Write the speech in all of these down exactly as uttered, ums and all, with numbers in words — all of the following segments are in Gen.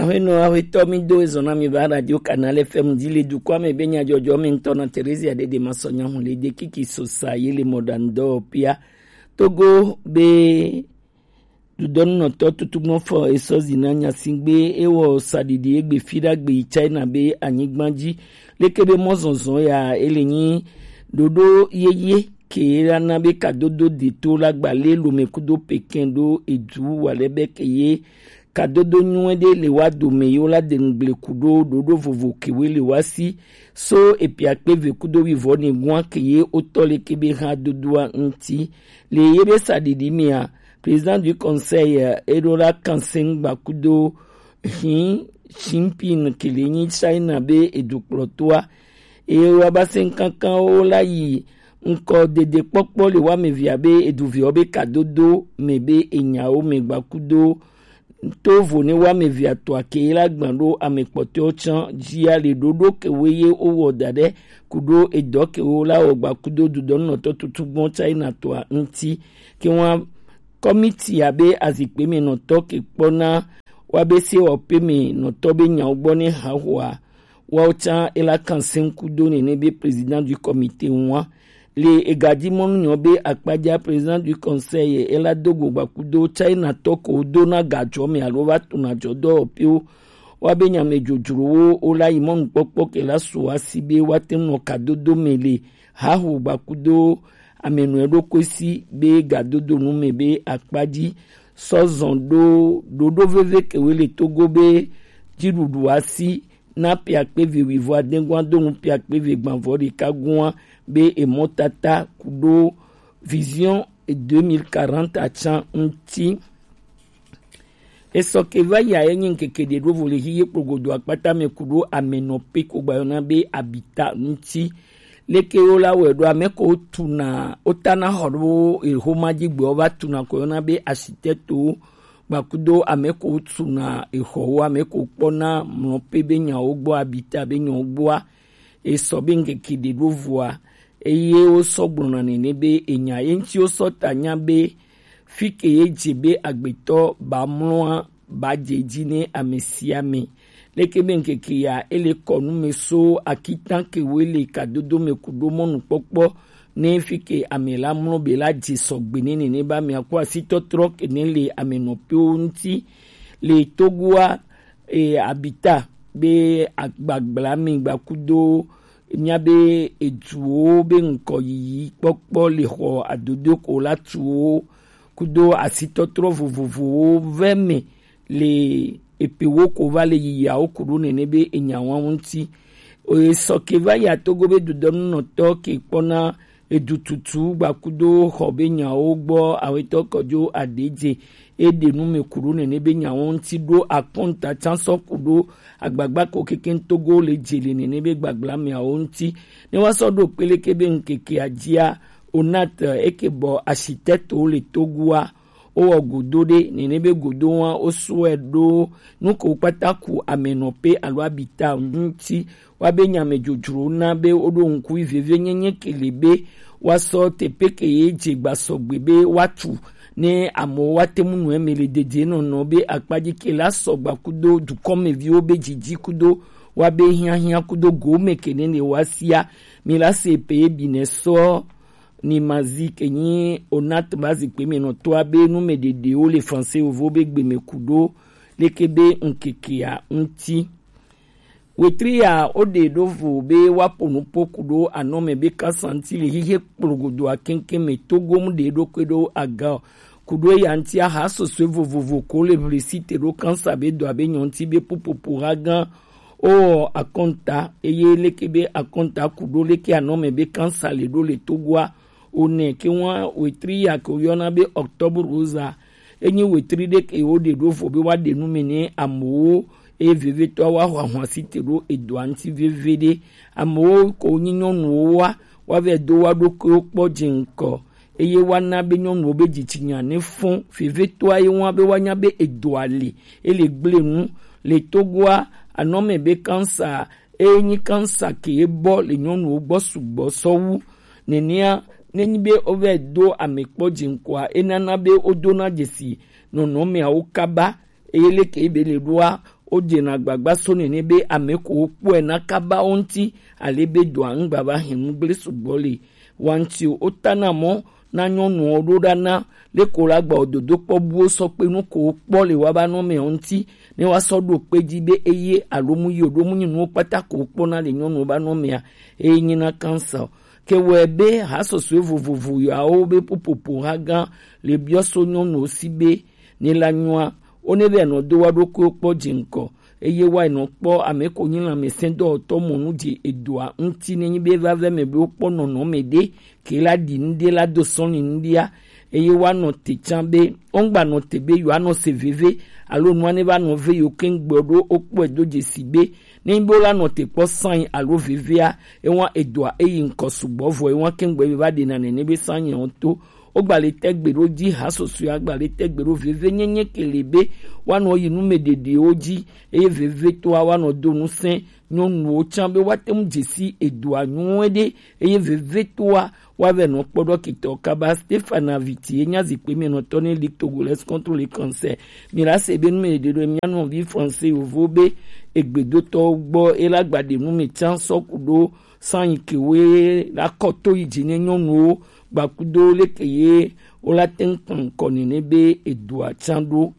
Aƒenɔ, aƒetɔ, mi do ezɔ na mi va Radio Canal F M dzi le dukɔa me be nyadzɔdzɔ me ŋutɔ na Teresia Dede Masɔnya hu le de kiki sosa ye le mɔɖaŋudɔwɔƒea. Togo be dudɔnunɔtɔ tutugbɔ fɔ esɔ zi na nyasigbe ewɔ saɖiɖi egbe fi ɖagbe yi China be anyigba dzi. Leke be mɔzɔzɔ ya ele nyi ɖoɖo yeye ke la na be kadodo de to la gba le lome kudo Pekin ɖo edu wa le be ke ye kadodo nyuie ɖe le wa dome yo la de ŋgble kudo ɖoɖo vovo kewe le wa si so epia kpe ve kudo wivɔ ne gua ke ye wotɔ le ke be ha dodoa ŋuti. Le ye be saɖiɖi mea, Président du Conseil, eh, eɖo la kanse ŋgba kudo Xi Jinping ke le nyi China be edukplɔtoa. Eye wa ba se ŋkankanwo la yi ŋkɔ dede kpɔkpɔ le wa me via be eduviawo be kadodo me be enyawo me gba kudo to vo ne wa me via toa ke la gban ɖo ame kpɔtɔewo tsã dzia le ɖoɖo kewo ye wowɔ da ɖe kudo edɔ kewo la wɔ gba kudo dudɔnunɔtɔ tutugbɔ China toa ŋuti. Ke wa kɔmiti abe azikpe me nɔtɔ ke kpɔna wa be se wɔ pe me nɔtɔ be nyawo gbɔ ne ha hoa. Woawo tsã ela kan seŋku do nene be président du comité ŋua. Le egaji mɔnu nyɔ be akpadza président du conseil ela do go gbakudo China tɔ ko do na gadzɔ me alo va tona dzɔ dɔwɔƒewo. Wa be nyame dzodzrowo wo la yi mɔnukpɔkpɔ ke la so asi be woate ŋu nɔ kadodo me le haho gbakudo amenɔe ɖokui si be gadodo nu me be akpadzi sɔ zɔn ɖo ɖoɖo veve kewe le Togo be dziɖuɖu asi na piakpe ve wivɔ adegua do nu piakpe ve gbanvɔ ɖeka gua be emɔtata kuɖo vision deux mille quarante atsa ŋuti. Esɔ ke va yi a ye nyi ŋkeke ɖe ɖo vo le hiye kplogodo akpata me kuɖo amenɔ pe ko gbayɔna be abita ŋuti. Leke wo la wɛ ɖo ame ko tuna wo tana xɔ ɖo exoma dzi gbe wo va tuna ko yɔna be asitɛto gbakudo ame ko tuna exɔwo ame ko kpɔna mlɔ pe be nyawo gbɔ abita be nyawo gbɔa. Esɔ be ŋkeke ɖe ɖo voa eye wo sɔ gblɔna nene be enya ye ŋuti wo sɔ ta nya be fi ke ye dze be agbetɔ ba mlɔa ba dze dzi ne ame sia ame. Leke be ŋkeke ya ele kɔ nu me so akitan ke wo le kadodo me kuɖo mɔnukpɔkpɔ ne fi ke ame la mlɔ be la dze sɔgbe ne nene ba mia kɔ asitɔtrɔ ke ne le amenɔpewo ŋuti le Togoa e, abita be agbagbla mi gbakudo mia be eduwo be ŋkɔ yiyi kpɔkpɔ le xɔ adodo ko la tuwo kudo asitɔtrɔ vovovowo vɛ me le epe wo ko va le yiyiawo kuɖo nene be enyawo ŋuti. Esɔ ke va yi a Togo be dodɔnunɔtɔ ke kpɔna edututu gbakudo xɔ be nyawo gbɔ awetɔ kɔdzo adedze eɖe nu me kuɖo nene be nyawo ŋuti ɖo akɔnta tsa sɔ kuɖo agbagba ko keke Togo le dze le nene be gbagbla meawo ŋuti. Ne wa sɔ ɖo kpeleke be ŋkeke adzia onat eke bɔ asitɛto le Togoa wowɔ godo ɖe nene be godo wa wosɔe ɖo nu ko kpata ku amenɔpe alo abita ŋuti. Wa be nyame dzodzro na be woɖo ŋku veve nyenye ke le be wa sɔ tepe ke ye dze gba sɔgbe be wa tu ne amewo wa te mu nu eme le dede nɔnɔ be akpadzi ke la sɔgba kudo dukɔmeviwo be dzidzi kudo wa be hiahia kudo gome ke ne le wa sia mi la se pe ye bi ne sɔ ni mazi ke nyi onat mazi kpe me nɔ toa be nu me ɖeɖewo le français ovo be gbe me kuɖo leke be ŋkekea ŋuti. Wetri ya wo ɖe ɖo vo be wa po nu po kuɖo anɔ me be kasa ŋuti le hihe kplogodoa keŋkeŋ me Togo mu ɖe ɖokui ɖo aga o. Kuɖo ya ŋuti aha sɔsɔe vovovo ko le ʋli si te ɖo kansa be dɔ abe nyɔ ŋuti be pupupu ha gã o akɔnta eye leke be akɔnta kuɖo leke anɔ me be kansa le ɖo le Togoa o ne ke wa wetri ya ke wo yɔna be octobre rosa. Enyi wetri ɖe ke wo ɖe ɖo vo be wa ɖe nu me ne amewo eye vevetɔ wa xɔ ahwa si te ɖo edɔa ŋuti veve ɖe. Amewo ko nyi nyɔnuwo wa wa vɛ do wa ɖokuiwo kpɔ dze ŋkɔ eye wa na be nyɔnuwo be dzitsinya ne fɔn vevetɔa ye wa be wa nya be edɔa le ele gble nu le Togoa anɔ me be kansa eye nyi kansa ke ye bɔ le nyɔnuwo gbɔ sugbɔ sɔwu. Nenea ne nyi be wo vɛ do ame kpɔ dze ŋkɔa enana be wo dona dzesi nɔnɔmeawo kaba eye leke be le ɖoa Wodze na agbagba so nene be ame ko wokpɔe na kaba wo ŋuti, ale be dɔa ŋgba va hɛn nugble sugbɔ le wa ŋuti o. Wota na mɔ na nyɔnuwo ɖo ɖa na leko la gba wo dodo kpɔ buwo sɔ kpe nu ko wokpɔ le wa ba nɔ mɛ ŋuti, ne wa sɔ ɖo kpe dzi be eye alo mu yi o ɖo mu nyi nuwo kpata ko wokpɔ na le nyɔnuwo ba nɔ mɛa, eye nyi na kansa o. Ke wɔe be hasɔsɔe vovovo yawo be popopo ha gã le biɔ so nyɔnuwo si be ne la nyɔa, wo ne vɛ nɔ do wa ɖokuiwo kpɔ dze ŋkɔ, eye wa nɔ kpɔ ame ko nyi lãmesẽdɔwɔtɔ mɔ nu dze edoa ŋuti ne nyi be va vɛ mɛ be wokpɔ nɔnɔme ɖe ke la ɖi nu ɖe la do sɔli nu ɖia, eye wa nɔ te tsã be wongba nɔ te be yewoa nɔ se veve alo nua ne va nɔ ve yewo keŋ gbɔ ɖo wokpɔe do dzesi be ne nyi be wola nɔ te kpɔ sãi alo vevea, ewa edoa eyi ŋkɔ sugbɔ vɔ ewa keŋ gbɔ ebe va ɖena nene be sãi ɔ to. Wogba le tɛgbe ɖo dzi hasɔsɔe agba le tɛgbe ɖo veve nyenye ke le be woanɔ yi nu me ɖeɖewo dzi, eye vevetoa woanɔ do ŋusẽ nyɔnuwo tsã be woate ŋu dze si edoa nyuie ɖe, eye vevetoa woavɛ nɔ kpɔ ɖɔkitɔ kaba. Stefana Viti ye nya zikpui me nɔtɔ ne Ligue Togolaise contre le cancer. Mi la se be nu me ɖeɖe ɖo mia nɔvi français yovo be egbedotɔwo gbɔ e la gba ɖe nu me tsã sɔ ku ɖo sãyi ke woe la kɔ to yi dzi ne nyɔnuwo gbakudo leke ye wo la te ŋu kpɔn ŋkɔ nene be edoa tsã ɖo.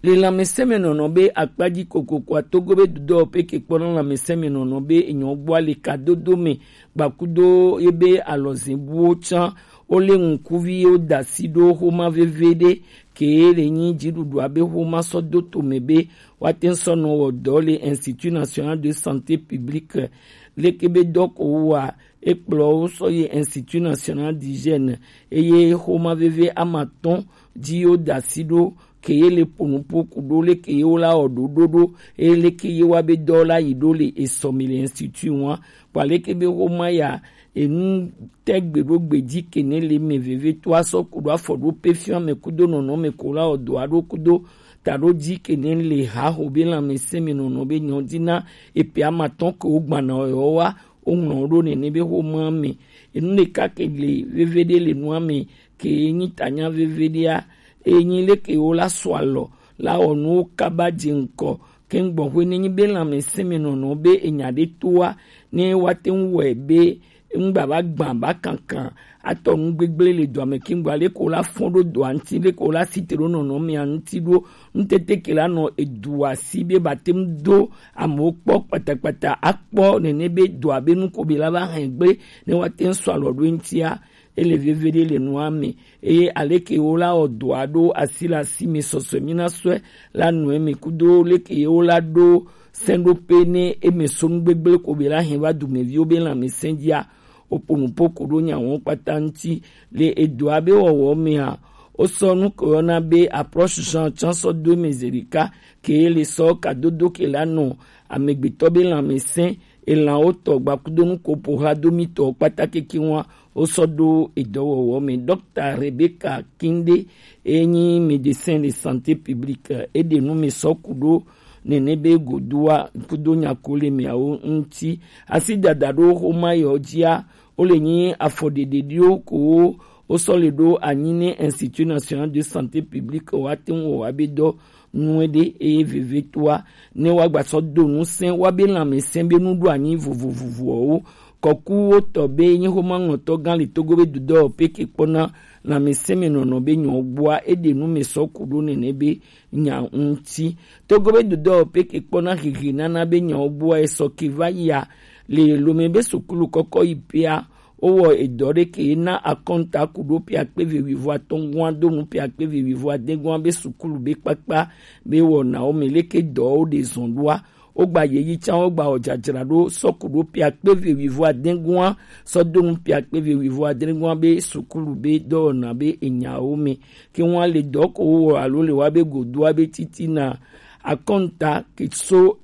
Le lãmesẽmenɔnɔ be akpa dzi kokokoa, Togo be dudɔ pe ke kpɔna lãmesẽmenɔnɔ be enyɔ gbɔa le kadodo me gbakudo ye be alɔzɛbuwo tsã wo le ŋkuvi ye wo da si ɖo xoma veve ɖe ke le nyi dziɖuɖua be xoma sɔ do to me be woate ŋu sɔ nɔ wɔ dɔ le Institut National de Santé Publique leke be dɔ ko wa ekplɔ wo sɔ yi Institut National d'Hygiène, eye xoma veve amatɔn dzi wo da si ɖo ke ye le ƒo nuƒo ku ɖo leke ye wo la wɔ ɖoɖo ɖo, eye leke ye wa be dɔ la yi ɖo le esɔ me le institut wa. Kpa leke be xoma ya enu tɛgbe ɖo gbe dzi ke ne le me veve to asɔ ku ɖo afɔ ɖo pe fiɔ me kudo nɔnɔ me ko la wɔ dɔ aɖo kudo ta ɖo dzi ke ne le ha xo be lãmesẽ me nɔnɔ be nyɔ dzi na epe amatɔn ke wo gbana yɔ wa. Woŋlɔ wo ɖo nene be xoma me. Enu ɖeka ke le veve ɖe le nua me ke nyi tanya veve ɖea, enyi leke wo la sɔ alɔ la wɔ nuwo kaba dze ŋkɔ keŋgbɔ xwe ne nyi be lãmesẽ me nɔnɔ be enya ɖe toa ne woate ŋu wɔe be ŋgba va gbã ba kankan atɔ nu gbegble le dɔa me keŋgbɔ leke wo la fɔn ɖo dɔa ŋuti leke wo la si te ɖo nɔnɔ mea ŋuti ɖo ŋutete ke la nɔ edua si be ba te ŋu do amewo kpɔ kpatakpata akpɔ nene be dɔa be nu ko be la va hɛn gble ne woate ŋu sɔ alɔ ɖo eŋutia. Ele veve ɖe le nua me eye aleke wo la wɔ dɔa ɖo asi le asi me sɔsɔe mi na sɔe la nɔe me kudo leke ye wo la ɖo sɛnɖoƒe ne eme so nu gbegble ko be la hɛn va dumeviwo be lãmesẽ dzia. Woƒo nuƒo ko ɖo nya wɔn kpata ŋuti le edɔa be wɔwɔ mea. Wosɔ nu ke woyɔna be approche Jean tsã sɔ do eme zi ɖeka ke le sɔ kadodo ke la nɔ amegbetɔ be lãmesẽ elãwo tɔ gbakudo nu ko ƒo xla do mi tɔ kpata keke wa wosɔ do edɔwɔwɔ me. Dɔkta Rebecca Kinde enyi médecin de santé publique eɖe nu me sɔ ku ɖo nene be godoa kudo nya ko le meawo ŋuti. Asi dada ɖo xoma yɔ dzia wo le nyi afɔɖeɖeɖiwo ko wo sɔ le ɖo anyi ne Institut National de Santé Publique wa te ŋu wɔ wa be dɔ nue ɖe eye vevetoa ne wa gba sɔ do ŋusẽ wa be lãmesẽ be nuɖoanyi vovovovoawo. Kɔkuwo tɔ be nyi xoma ŋlɔtɔ gã le Togo be dudɔ pe ke kpɔna lãmesẽ me nɔnɔ be nyɔ gbɔa eɖe nu me sɔ ku ɖo nene be nya ŋuti. Togo be dudɔ pe ke kpɔna hehe nana be nyawo gbɔa esɔ ke va yia le lome be sukulu kɔkɔ yi pea wowɔ edɔ ɖe ke na akɔnta ku ɖo pia kpe ve wivo atɔngua do nu pia kpe ve wivo adegua be sukulu be kpakpa be wɔnawo me leke dɔwo ɖe zɔn ɖoa. Wogba yeyi tsã wogba wɔ dzadzra ɖo sɔ ku ɖo pia kpe ve wivo adegua sɔ do nu pia kpe ve wivo adegua be sukulu be dɔwɔna be enyawo me. Ke ŋua le dɔ ko wowɔ alo le wa be godoa be titina akɔnta ke so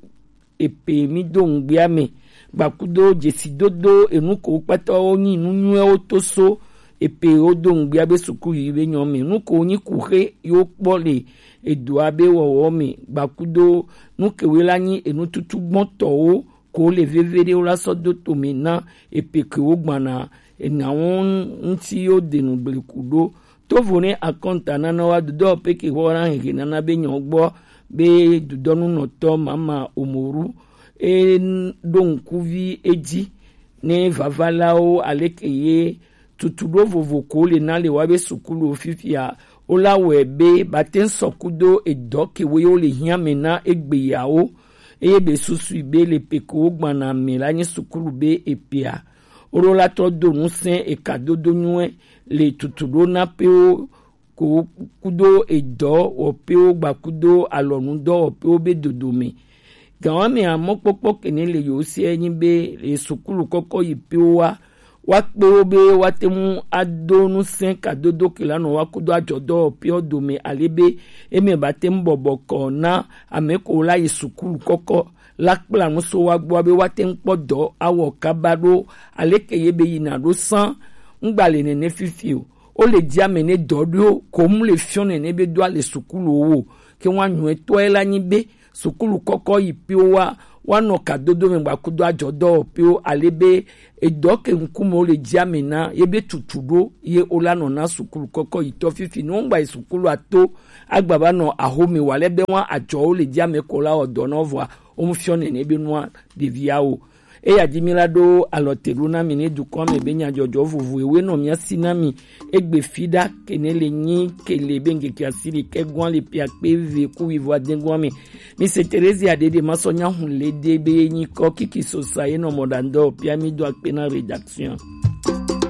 epe mi do ŋgbea me gbakudo dzesidodo enu ko kpata wo nyi nu nyuiwo to so epe wo do ŋgbea be suku yi be nyɔ me nu ko nyi kuxe yo kpɔ le edoa be wɔwɔ me gbakudo nu kewe la nyi enu tutu gbɔtɔwo ko le veve ɖe wo la sɔ do tome na epe ke wo gbana enawo ŋuti yo denu bleku ɖo. Tovo ne akɔnta nana wa dodɔ pe ke xɔ na hehe nana be nyɔ gbɔ be dudɔnunɔtɔ Mama Omoru e ɖo ŋkuvi edzi ne vavalawo aleke ye tutuɖo vovo ko le na le wa be sukulu fifia, wo la wɔe be bate ŋ sɔ kudo edɔ ke wo ye wo le hiã me na egbe yawo, eye be susui be le pe ko wo gbana me la nye sukulu be epea, wo ɖo la tɔ do ŋusẽ eka dodo nyuie le tutuɖo na pewo ko kudo edɔ wɔpewo gba kudo alɔnudɔwɔpewo be dodome. Gawamea mɔkpɔkpɔ kene le yewo sia nyi be le sukulu kɔkɔ yi pewo wa, wa kpewo be woate ŋu ado ŋusẽ kadodo ke la nɔ wa kudo adzɔdɔwɔpewo dome ale be eme bate ŋu bɔbɔ kɔ na ame ko la yi sukulu kɔkɔ la kpla nu so wa gbɔ be woate ŋu kpɔ dɔ awɔ kaba ɖo aleke ye be yina ɖo sã ŋgba le nene fifi o. Wo le dzi ame ne dɔ ɖo ko mu le fiɔ nene be do ale sukulu wo ke wa nyuɛ tɔe la nyi be sukulu kɔkɔ yi piwo wa wa nɔ kadodo me gba kudo adzɔdɔ piwo ale be edɔ ke ŋkume wo le dzi ame na ye be tutu ɖo ye wo la nɔ na sukulu kɔkɔ yi tɔ fifi no ŋgba yi sukulu ato agba ba nɔ ahome wa le be wa adzɔ wo le dzi ame ko la wɔ dɔ nɔ vɔa wo mu fiɔ nene be nua ɖevia o. Eya di mi la ɖo alɔ te ɖo na mi ne dukɔ me be nyadzɔdzɔ vovo ewe nɔ mia si na mi egbe fi ɖa ke ne le nyi ke le be ŋkeke asi ɖekɛ gɔn le pia kpe ve ku wi vɔ ade gɔn me. Mi se Terezia ɖe ɖe ma sɔ nya hun le de be nyi kɔ kiki sosa ye nɔ mɔ ɖa ŋdɔ pia mi do akpe na rédaction.